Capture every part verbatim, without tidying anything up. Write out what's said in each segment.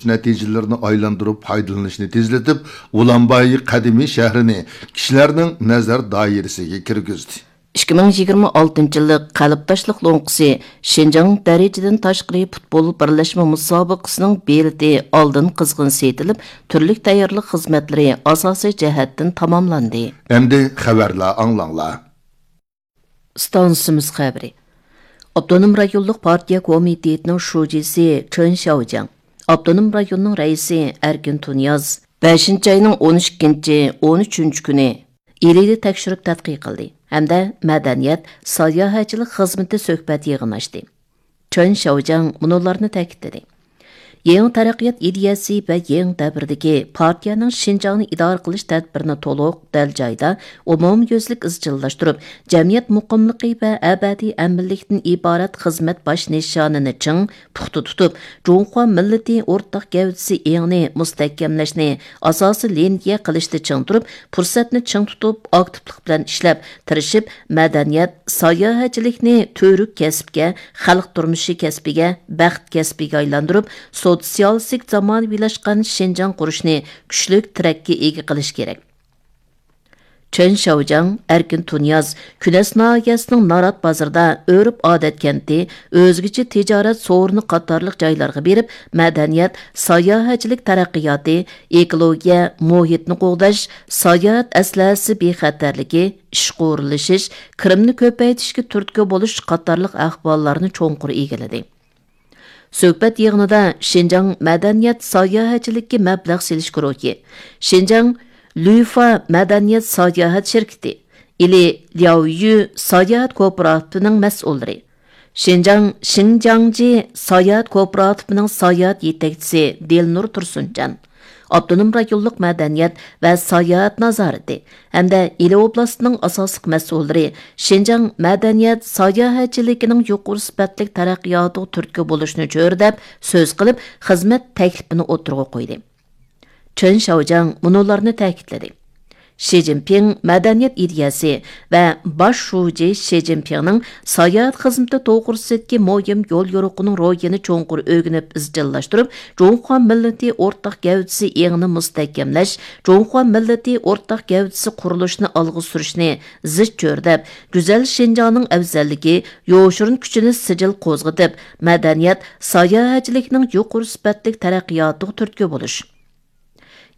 نەتىجىلىرىنى ئايلاندۇرۇپ پايدىلىنىشنى تېزلىتىپ، ئۇلانباي قەدىمىي شەھىرىنى كىشىلەرنىڭ نەزەر دائىرىسىگە كىرگۈزدى. ئىككى مىڭ يىگىرمە ئالتىنچى يىللىق قەلبداشلىق لوڭقىسى شىنجاڭ دەرىجىدىن تاشقىرى پۇتبول بىرلەشمە مۇسابىقىسىنىڭ بېلىتى ئالدىن قىزغىن سېتىلىپ، تۈرلۈك تەييارلىق خىزمەتلىرى ئاساسىي جەھەتتىن تاماملاندى. ئەمدى خەۋەرلەر ئاڭلاڭلار. ئىستانسىمىز خەۋىرى. ئاپتونوم رايونلۇق پارتىيە كومىتېتىنىڭ شۇجىسى چېن شياۋجياڭ، ئاپتونوم رايوننىڭ رەئىسى ئەركىن تۇنىياز بەشىنچى ئاينىڭ ئون ئىككىنچى، ئون ئۈچىنچى كۈنى ئىلىدە تەكشۈرۈپ تەتقىق قىلدى ھەمدە مەدەنىيەت، ساياھەتچىلىك خىزمىتى سۆھبەت يىغىنى ئاچتى. چېن شياۋجياڭ مۇنۇلارنى تەكىتلىدى. يېڭى تەرەققىيات ئىدىيەسى ۋە يېڭى دەۋردىكى پارتىيەنىڭ شىنجاڭنى ئىدارە قىلىش تەدبىرىنى تولۇق، دەل جايىدا، ئومۇميۈزلۈك ئىزچىللاشتۇرۇپ، جەمئىيەت مۇقىملىقى ۋە ئەبەدىي ئەمىنلىكتىن ئىبارەت خىزمەت باش نىشانىنى چىڭ، پۇختا تۇتۇپ، جۇڭخۇا مىللىتى ئورتاق گەۋدىسى ئېڭىنى مۇستەھكەملەشنى ئاساسىي لىنىيە قىلىشتا چىڭ تۇرۇپ، پۇرسەتنى چىڭ تۇتۇپ، ئاكتىپلىق بىلەن ئىشلەپ، تىرىشىپ، مەدەنىيەت، ساياھەتچىلىكنى تۈۋرۈك كەسىپكە، خەلق تۇرمۇشى كەسپىگە، بەخت كەسپىگە ئايلاندۇرۇپ، سوتسىيالىستىك زامانىۋىلاشقان شىنجاڭ قۇرۇشنى كۈچلۈك تىرەككە ئىگە قىلىش كېرەك. چېن شياۋجياڭ، ئەركىن تۇنىياز كۈنەس ناھىيەسىنىڭ نارات بازىرىدا ئۆرپ-ئادەت كەنتى، ئۆزگىچە تىجارەت سورۇنى قاتارلىق جايلارغا بېرىپ، مەدەنىيەت، ساياھەتچىلىك تەرەققىياتى، ئېكولوگىيە، مۇھىتنى قوغداش، ساياھەت ئەسلىھەسى بېخەتەرلىكى، ئىشقا ئورۇنلىشىش، كىرىمنى كۆپەيتىشكە تۈرتكە بولۇش قاتارلىق ئەھۋاللارنى چوڭقۇر ئىگىلىدى. سۆھبەت يىغىنىدا شىنجاڭ مەدەنىيەت ساياھەتچىلىككە مەبلەغ سېلىش گۇرۇھى، شىنجاڭ لۈفا مەدەنىيەت ساياھەت شىركىتى، ئىلى لياۋيۈ ساياھەت كوپىراتىپىنىڭ مەسئۇللىرى، شىنجاڭ شىڭجياڭجى ساياھەت كوپىراتىپىنىڭ ساياھەت يېتەكچىسى دىلنۇر تۇرسۇنجان، ئاپتونوم رايونلۇق مەدەنىيەت ۋە ساياھەت نازارىتى ھەمدە ئىلى ئوبلاستىنىڭ ئاساسلىق مەسئۇللىرى شىنجاڭ مەدەنىيەت ساياھەتچىلىكىنىڭ يۇقىرى سۈپەتلىك تەرەققىياتىغا تۈرتكە بولۇشنى چۆرىدەپ سۆز قىلىپ، خىزمەت تەكلىپىنى ئوتتۇرىغا قويدى. چېن شياۋجياڭ مۇنۇلارنى تەكىتلىدى. شى جىنپىڭ مەدەنىيەت ئىدىيەسى ۋە باش شۇجى شى جىنپىڭنىڭ ساياھەت خىزمىتى توغرىسىدىكى مۇھىم يوليورۇقىنىڭ روھىنى چوڭقۇر ئۆگىنىپ ئىزچىللاشتۇرۇپ، جۇڭخۇا مىللىتى ئورتاق گەۋدىسى ئېڭىنى مۇستەھكەملەش، جۇڭخۇا مىللىتى ئورتاق گەۋدىسى قۇرۇلۇشىنى ئالغا سۈرۈشنى زىچ چۆرىدەپ، گۈزەل شىنجاڭنىڭ ئەۋزەللىكى، يوشۇرۇن كۈچىنى سىجىل قوزغىتىپ، مەدەنىيەت، ساياھەتچىلىكنىڭ يۇقىرى سۈپەتلىك تەرەققىياتىغا تۈرتكە بولۇش.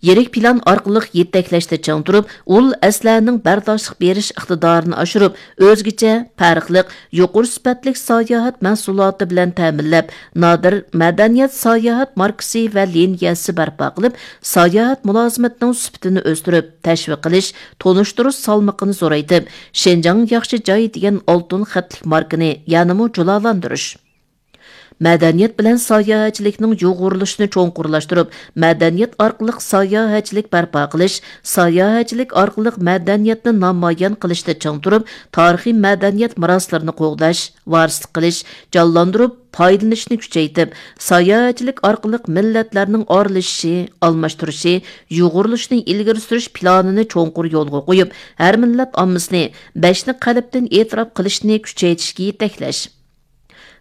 يىرىك پىلان ئارقىلىق يېتەكلەشتە چىڭ تۇرۇپ، ئۇل ئەسلىھەنىڭ بەرداشلىق بېرىش ئىقتىدارىنى ئاشۇرۇپ، ئۆزگىچە، پەرقلىق، يۇقىرى سۈپەتلىك ساياھەت مەھسۇلاتى بىلەن تەمىنلەپ، نادىر مەدەنىيەت ساياھەت ماركىسى ۋە لىنىيەسى بەرپا قىلىپ، ساياھەت مۇلازىمىتىنىڭ سۈپىتىنى ئۆستۈرۈپ، تەشۋىق قىلىش، تونۇشتۇرۇش سالمىقىنى زورايتىپ، شىنجاڭ ياخشى جاي دېگەن ئالتۇن خەتلىك ماركىنى يەنىمۇ جۇلالاندۇرۇش. مەدەنىيەت بىلەن ساياھەتچىلىكنىڭ يۇغۇرۇلۇشىنى چوڭقۇرلاشتۇرۇپ، مەدەنىيەت ئارقىلىق ساياھەتچىلىك بەرپا قىلىش، ساياھەتچىلىك ئارقىلىق مەدەنىيەتنى نامايان قىلىشتا چىڭ تۇرۇپ، تارىخىي مەدەنىيەت مىراسلىرىنى قوغداش، ۋارىسلىق قىلىش، جانلاندۇرۇپ، پايدىلىنىشنى كۈچەيتىپ، ساياھەتچىلىك ئارقىلىق مىللەتلەرنىڭ ئارىلىشىشى، ئالماشتۇرۇشى، يۇغۇرۇلۇشىنى ئىلگىرى سۈرۈش پىلانىنى چوڭقۇر يولغا قويۇپ، ھەر مىللەت ئاممىسىنى بەشنى قەلبتىن ئېتىراپ قىلىشنى كۈچەيتىشكە يېتەكلەش.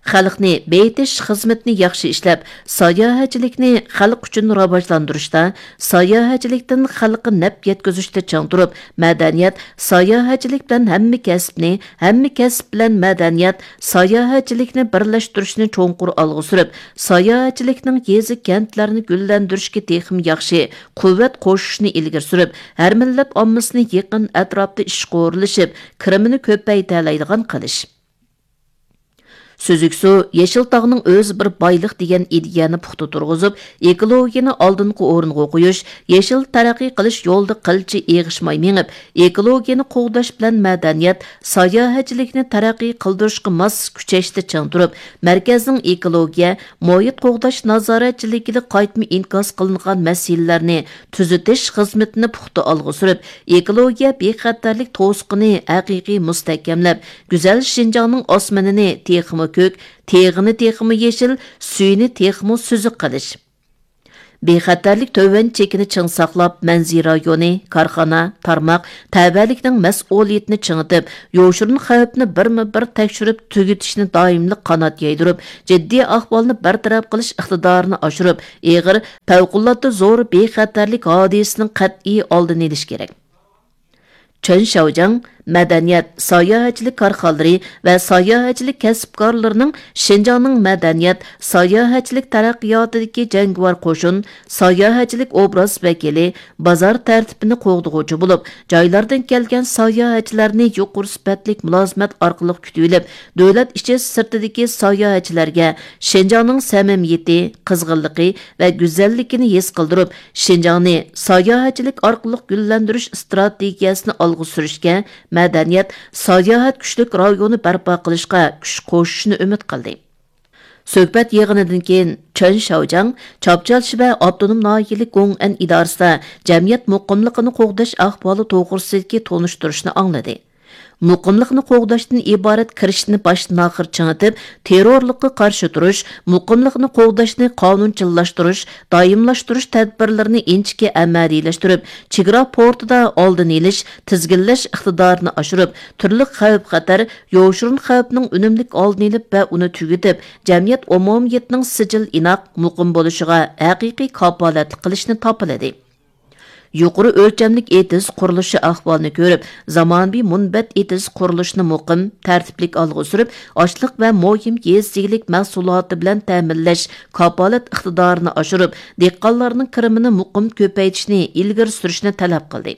خەلقنى بېيىتىش خىزمىتىنى ياخشى ئىشلەپ، ساياھەتچىلىكنى خەلق ئۈچۈن راۋاجلاندۇرۇشتا، ساياھەتچىلىكتىن خەلققە نەپ يەتكۈزۈشتە چىڭ تۇرۇپ، مەدەنىيەت، ساياھەتچىلىك بىلەن ھەممە كەسىپنى، ھەممە كەسىپ بىلەن مەدەنىيەت، ساياھەتچىلىكنى بىرلەشتۈرۈشنى چوڭقۇر ئالغا سۈرۈپ، ساياھەتچىلىكنىڭ يېزا، كەنتلەرنى گۈللەندۈرۈشكە تېخىمۇ ياخشى قۇۋۋەت قوشۇشنى ئىلگىرى سۈرۈپ، ھەر مىللەت ئاممىسىنى يېقىن ئەتراپتا ئىشقا ئورۇنلىشىپ، كىرىمىنى كۆپەيتەلەيدىغان قىلىش. سۈزۈك سۇ، يېشىل تاغنىڭ ئۆزى بىر بايلىق دېگەن ئىدىيەنى پۇختا تۇرغۇزۇپ، ئېكولوگىيەنى ئالدىنقى ئورۇنغا قويۇش، يېشىل تەرەققىي قىلىش يولىدا قىلچە ئېغىشماي مېڭىپ، ئېكولوگىيەنى قوغداش بىلەن مەدەنىيەت، ساياھەتچىلىكنى تەرەققىي قىلدۇرۇشقا ماس كۈچەشتە چىڭ تۇرۇپ، مەركەزنىڭ ئېكولوگىيە، مۇھىت قوغداش نازارەتچىلىكىدە قايتما ئىنكاس قىلىنغان مەسىلىلەرنى تۈزىتىش خىزمىتىنى پۇختا ئالغا سۈرۈپ، ئېكولوگىيە بىخەتەرلىك توسۇقىنى ھەقىقىي مۇستەھكەملەپ، گۈزەل شىنجاڭنىڭ ئاسمىنىنى تېخىمۇ كۆك، تېغىنى تېخىمۇ يېشىل، سۈيىنى تېخىمۇ سۈزۈك قىلىش. بىخەتەرلىك تۆۋەن چېكىنى چىڭ ساقلاپ، مەنزىرە رايونى، كارخانا، تارماق، تەۋەلىكنىڭ مەسئۇلىيىتىنى چىڭىتىپ، يوشۇرۇن خەۋپنى بىرمۇ بىر تەكشۈرۈپ تۈگىتىشنى دائىملىق قانات يايدۇرۇپ، جىددىي ئەھۋالنى بىر تەرەپ قىلىش ئىقتىدارىنى ئاشۇرۇپ، ئېغىر، پەۋقۇلئاددە زور بىخەتەرلىك ھادىسىسىنىڭ قەتئىي ئالدىنى ئېلىش كېرەك. چېن شياۋجياڭ مەدەنىيەت، ساياھەتچىلىك كارخانىلىرى ۋە ساياھەتچىلىك كەسىپكارلىرىنىڭ شىنجاڭنىڭ مەدەنىيەت، ساياھەتچىلىك تەرەققىياتىدىكى جەڭگىۋار قوشۇن، ساياھەتچىلىك ئوبراز ۋەكىلى، بازار تەرتىپىنى قوغدىغۇچى بولۇپ، جايلاردىن كەلگەن ساياھەتچىلەرنى يۇقىرى سۈپەتلىك مۇلازىمەت ئارقىلىق كۈتۈۋېلىپ، دۆلەت ئىچى سىرتىدىكى ساياھەتچىلەرگە شىنجاڭنىڭ سەمىمىيىتى، قىزغىنلىقى ۋە گۈزەللىكىنى ھېس قىلدۇرۇپ، شىنجاڭنى ساياھەتچىلىك ئارقىلىق گۈللەندۈرۈش ئىستراتېگىيەسىنى ئالغا سۈرۈشكە، مەدەنىيەت، ساياھەت كۈچلۈك رايونى بەرپا قىلىشقا كۈچ قوشۇشىنى ئۈمىد قىلدى. سۆھبەت يىغىنىدىن كېيىن چېن شياۋجياڭ چاپچال شىبە ئاپتونوم ناھىيەلىك گوڭئەن ئىدارىسىدا جەمئىيەت مۇقىملىقىنى قوغداش ئەھۋالى توغرىسىدىكى تونۇشتۇرۇشنى ئاڭلىدى. مۇقىملىقنى قوغداشتىن ئىبارەت كىرىشىشنى باشتىن ئاخىر چىڭىتىپ، تېررورلۇققا قارشى تۇرۇش، مۇقىملىقنى قوغداشنى قانۇنچىللاشتۇرۇش، دائىملاشتۇرۇش تەدبىرلىرىنى ئىنچىكە ئەمەلىيلەشتۈرۈپ، چېگرا پورتىدا ئالدىنى ئېلىش، تىزگىنلەش ئىقتىدارىنى ئاشۇرۇپ، تۈرلۈك خەۋپ-خەتەر، يوشۇرۇن خەۋپنىڭ ئۈنۈملۈك ئالدىنى ئېلىپ ۋە ئۇنى تۈگىتىپ، جەمئىيەت ئومۇمىيىتىنىڭ سىجىل ئىناق، مۇقىم بولۇشىغا ھەقىقىي كاپالەتلىك قىلىشنى تاپىلىدى. يۇقىرى ئۆلچەملىك ئېتىز قۇرۇلۇشى ئەھۋالىنى كۆرۈپ، زامانىۋى مۇنبەت ئېتىز قۇرۇلۇشىنى مۇقىم، تەرتىپلىك ئالغا سۈرۈپ، ئاشلىق ۋە مۇھىم يېزا ئىگىلىك مەھسۇلاتى بىلەن تەمىنلەش كاپالەت ئىقتىدارىنى ئاشۇرۇپ، دېھقانلارنىڭ كىرىمىنى مۇقىم كۆپەيتىشنى ئىلگىرى سۈرۈشنى تەلەپ قىلدى.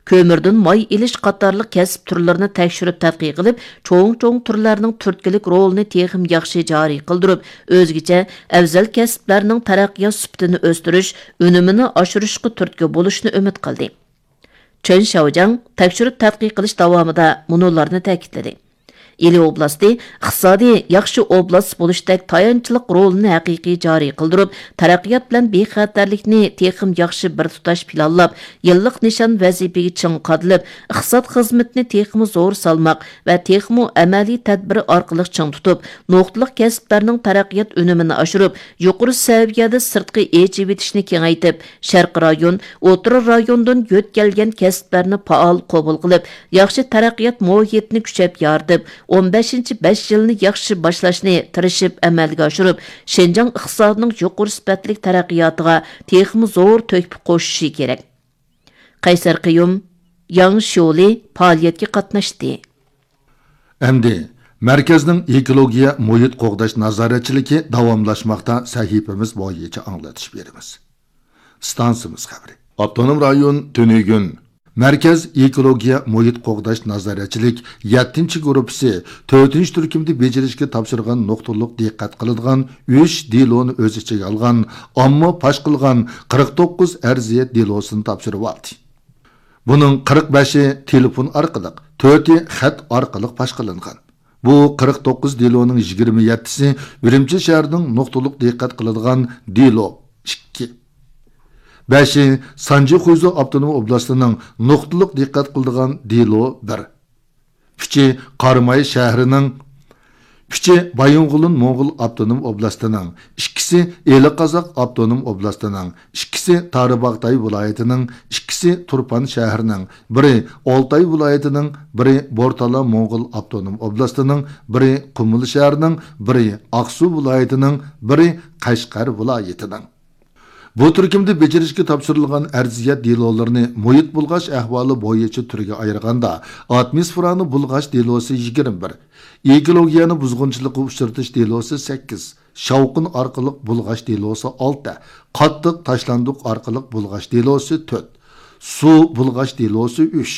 كۆمۈردىن ماي ئېلىش قاتارلىق كەسىپ تۈرلىرىنى تەكشۈرۈپ تەتقىق قىلىپ، چوڭ-چوڭ تۈرلەرنىڭ تۈرتكىلىك رولىنى تېخىمۇ ياخشى جارى قىلدۇرۇپ، ئۆزگىچە ئەۋزەل كەسىپلەرنىڭ تەرەققىيات سۈپىتىنى ئۆستۈرۈش، ئۈنۈمىنى ئاشۇرۇشقا تۈرتكە بولۇشنى ئۈمىد قىلدى. چېن شياۋجياڭ تەكشۈرۈپ تەتقىق قىلىش داۋامىدا مۇنۇلارنى تەكىتلىدى. ئىلى ئوبلاستى ئىقتىسادىي ياخشى ئوبلاست بولۇشتەك تايانچلىق رولىنى ھەقىقىي جارى قىلدۇرۇپ، تەرەققىيات بىلەن بىخەتەرلىكنى تېخىمۇ ياخشى بىر تۇتاش پىلانلاپ، يىللىق نىشان ۋەزىپىگە چىڭ قادىلىپ، ئىقتىساد خىزمىتىنى تېخىمۇ زور سالماق ۋە تېخىمۇ ئەمەلىي تەدبىر ئارقىلىق چىڭ تۇتۇپ، نۇقتىلىق كەسىپلەرنىڭ تەرەققىيات ئۈنۈمىنى ئاشۇرۇپ، يۇقىرى سەۋىيەدە سىرتقى ئېچىۋېتىشنى كېڭەيتىپ، شەرقىي رايون، ئوتتۇرا رايوندىن يۆتكەلگەن كەسىپلەرنى پائال قوبۇل قىلىپ، ياخشى تەرەققىيات مۇھىتىنى كۈچەپ يارىتىپ، ئون بەشىنچى بەش يىلنى ياخشى باشلاشنى تىرىشىپ ئەمەلگە ئاشۇرۇپ، شىنجاڭ ئىقتىسادىنىڭ يۇقىرى سۈپەتلىك تەرەققىياتىغا تېخىمۇ زور تۆھپە قوشۇشى كېرەك. قەيسەر قىيۇم، ياڭ شيولى پائالىيەتكە قاتناشتى. ئەمدى مەركەزنىڭ ئېكولوگىيە مۇھىت قوغداش نازارەتچىلىكى داۋاملاشماقتا سەھىپىمىز بويىچە ئاڭلىتىش بېرىمىز. ئىستانسىمىز خەۋىرى. ئاپتونوم رايون تۈنۈگۈن مەركەز ئېكولوگىيە مۇھىت قوغداش نازارەتچىلىك يەتتىنچى گۇرۇپپىسى تۆتىنچى تۈركۈمدە بېجىرىشكە تاپشۇرغان نۇقتىلىق دىققەت قىلىدىغان ئۈچ دېلونى ئۆز ئىچىگە ئالغان ئامما پاش قىلغان قىرىق توققۇز ئەرزىيەت دېلوسىنى تاپشۇرۇۋالدى. بۇنىڭ قىرىق بەشى تېلېفون ئارقىلىق، تۆتى خەت ئارقىلىق پاش قىلىنغان. بۇ قىرىق توققۇز دېلونىڭ يىگىرمە يەتتىسى ئۈرۈمچى شەھىرىنىڭ نۇقتىلىق دىققەت قىلىدىغان دېلو ئىككى، بەشى سانجى خۇيزۇ ئاپتونوم ئوبلاستىنىڭ نۇقتىلىق دىققەت قىلىدىغان دېلو بىر، ئۈچى قاراماي شەھىرىنىڭ، ئۈچى بايىنغولىن موڭغۇل ئاپتونوم ئوبلاستىنىڭ، ئىككىسى ئىلى قازاق ئاپتونوم ئوبلاستىنىڭ، ئىككىسى تارىباغاتاي ۋىلايىتىنىڭ، ئىككىسى تۇرپان شەھىرىنىڭ، بىرى ئالتاي ۋىلايىتىنىڭ، بىرى بورتالا موڭغۇل ئاپتونوم ئوبلاستىنىڭ، بىرى قۇمۇل شەھىرىنىڭ، بىرى ئاقسۇ ۋىلايىتىنىڭ، بىرى قەشقەر ۋىلايىتىنىڭ. بۇ تۈركۈمدە بېجىرىشكە تاپشۇرۇلغان ئەرزىيەت دېلولىرىنى مۇھىت بۇلغاش ئەھۋالى بويىچە تۈرگە ئايرىغاندا، ئاتموسفېرانى بۇلغاش دېلوسى يىگىرمە بىر، ئېكولوگىيەنى بۇزغۇنچىلىققا ئۇچرىتىش دېلوسى سەككىز، شاۋقۇن ئارقىلىق بۇلغاش دېلوسى ئالتە، قاتتىق تاشلاندۇق ئارقىلىق بۇلغاش دېلوسى تۆت، سۇ بۇلغاش دېلوسى ئۈچ،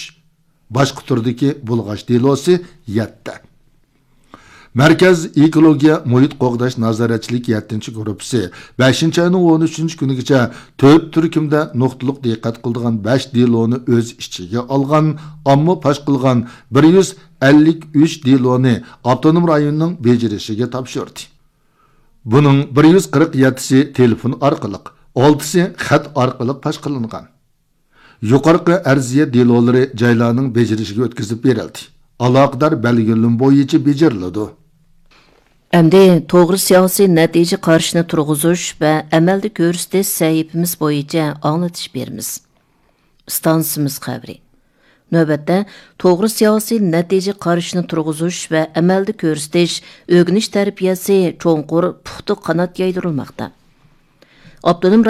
باشقا تۈردىكى بۇلغاش دېلوسى يەتتە. مەركەز ئېكولوگىيە مۇھىت قوغداش نازارەتچىلىك يەتتىنچى گۇرۇپپىسى بەشىنچى ئاينىڭ ئون ئۈچىنچى كۈنىگىچە تۆت تۈركۈمدە نۇقتىلىق دىققەت قىلىدىغان بەش دېلونى ئۆز ئىچىگە ئالغان، ئامما پاش قىلغان بىر يۈز ئەللىك ئۈچ دېلونى ئاپتونوم رايوننىڭ بېجىرىشىگە تاپشۇردى. بۇنىڭ بىر يۈز قىرىق يەتتىسى تېلېفون ئارقىلىق، ئالتىسى خەت ئارقىلىق پاش قىلىنغان. يۇقىرىقى ئەرزىيەت دېلولىرى جايلارنىڭ بېجىرىشىگە ئۆتكۈزۈپ بېرىلدى. ئالاقىدار بەلگىلىمە بويىچە بېجىرىلىدۇ. ئەمدى توغرا سىياسىي نەتىجە قارىشىنى تۇرغۇزۇش ۋە ئەمەلدە كۆرسىتىش سەھىپىمىز بويىچە ئاڭلىتىش بېرىمىز. ئىستانسىمىز خەۋىرى. نۆۋەتتە توغرا سىياسىي نەتىجە قارىشىنى تۇرغۇزۇش ۋە ئەمەلدە كۆرسىتىش، ئۆگىنىش تەربىيەسى چوڭقۇر، پۇختا قانات يايدۇرۇلماقتا. ئاپتونوم